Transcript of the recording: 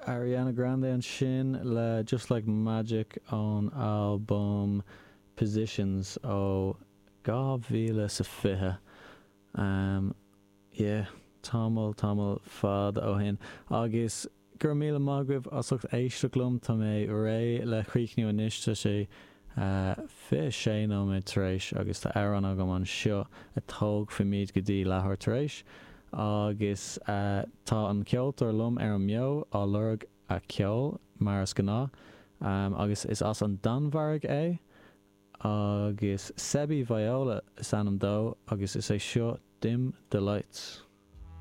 Ariana Grande ansin le Just Like Magic ón albam Positions ó 2020. Yeah, tamall, tamall fada ó shin. Agus go raibh míle maith agaibh as ucht éisteacht liom. Tá mé réidh le críochnú anois. Tá sé 26 nóiméad tar éis agus tá amhrán agam anseo a tógfaimid go dtí leathuair tar éis. Agus tá an ceoltóir liom ar an mbeo á lorg a ceol, mar is gnáth, agus is as an Danmhairg é agus Sebby Viola is ainm dó agus is é seo Dim the Lights.